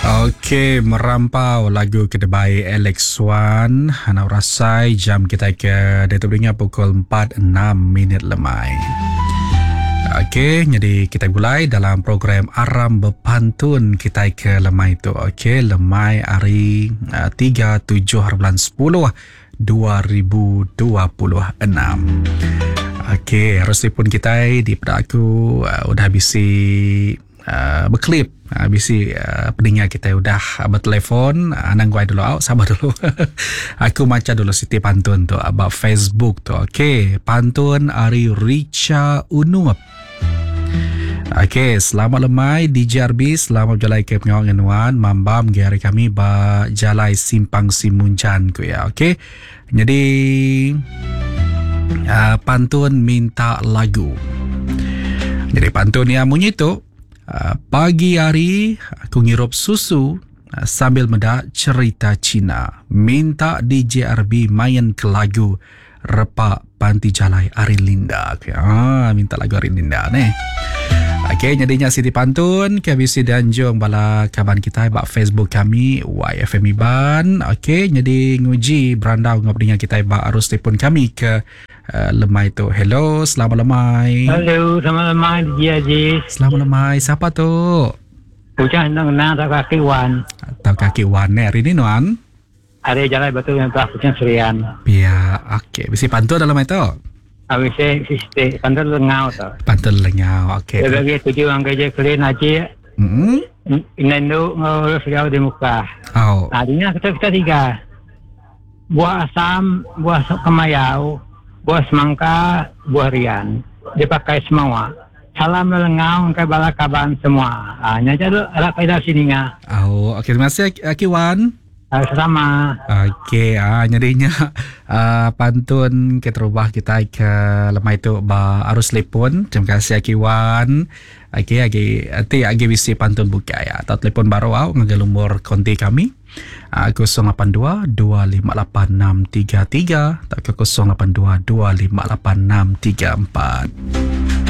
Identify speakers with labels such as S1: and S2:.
S1: Okey, merampau lagu ke dibai Alex Swan. Anak rasai jam kita ke diatu beringat pukul 4.06 minit lemai. Okey, jadi kita gulai dalam program Aram Bepantun kita ke lemai tu. Okey, lemai hari uh, 3 7 bulan 10 2026. Okey, harus pun kita di aku uh, udah bisi uh, beklip uh, bisi uh, peninga kita udah uh, bertelefon uh, anang guai dulu au sabar dulu aku maca dulu siti pantun tu about Facebook tu okey pantun ari Richa Unup Okey, selamat lemai DJ RB, selamat berjalai ke pengawal dengan nuan, mambam ge hari kami ba jalai Simpang Simunjan ku ya. Okey. Jadi uh, pantun minta lagu. Jadi pantun yang munyi tu uh, pagi hari aku ngirup susu uh, sambil meda cerita Cina. Minta DJ RB main ke lagu Repa Panti Jalai Ari Linda. Okay. Ah, minta lagu Ari Linda ni. Okey, jadinya Siti Pantun ke bisi dianjung bala kaban kita ba Facebook kami YFM Iban. Okey, jadi nguji berandau ngau peninga kita ba arus telefon kami ke uh, lemai tu. Hello, selamat lemai.
S2: Hello, selamat lemai DJ Aziz.
S1: Selamat lemai. Siapa tu?
S2: Ujah nang nang tak kaki wan.
S1: Atau kaki wan eh. Hari ni nuan?
S2: Ari jalai batu yang telah kucing serian.
S1: Pia, okey. Bisi pantun dalam itu?
S2: Ah, bisi bisi pantun lengau tu.
S1: Pantun lengau, okey.
S2: Dia bagi tuju orang kerja kelin haji.
S1: Mm-hmm.
S2: Inendu ngurus jauh di muka.
S1: Oh.
S2: Nah, ini kita kita tiga. Buah asam, buah kemayau, buah semangka, buah rian. Dipakai semua. Salam lelengau ke bala kaban semua. Ah, nya aja ada kaedah sini ngah.
S1: Oh, okey terima kasih Akiwan.
S2: Sama.
S1: Okey, ah nyadinya uh, pantun keterubah kita ke lemai tu ba arus telefon. Terima kasih Akiwan. Okey, agi ati agi bisi pantun bukai ya. Atau telefon baru au ngagai lumur konti kami. Uh, 082 258 633 atau 082 258 634.